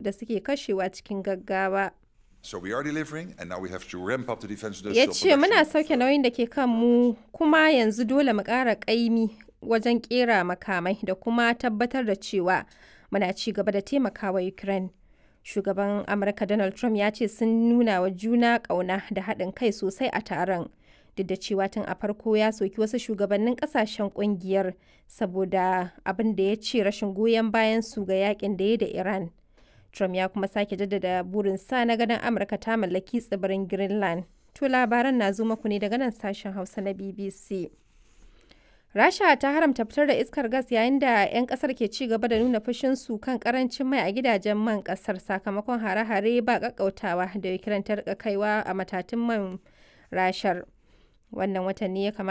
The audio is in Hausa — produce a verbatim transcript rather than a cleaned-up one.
da suke kashewa cikin gaggawa. So we are delivering and now we have to ramp up the defense Ya industrial ce muna production. sauke nauyin da ke kanmu kuma yanzu dole mu ƙara ƙaimi wajen ƙera makamai da kuma tabbatar da cewa muna ci gaba da taimakawa Ukraine. Shugaban Amurka Donald Trump ya ce sun nuna wa juna ƙauna da haɗin kai sosai a taron. Duk da cewa tun a farko ya soki wasu shugabannin ƙasashen ƙungiyar saboda abin da ya ce rashin goyon bayan su ga yakin da ya da Iran. Trump ya kuma sake jaddada burinsa na ganin Amurka ta mallaki tsibirin Greenland. To labaran na zo muku ne daga nan sashen Hausa na B B C. Rasha ta haramta fitar da iskar gas yayin da 'yan kasar ke ci gaba da nuna fushinsu kan karancin mai a gidajen man kasar sakamakon hare-hare ba kakkautawa da Ukraine ta rika kaiwa a matatun man Rashar. Wannan watan ne ya kamata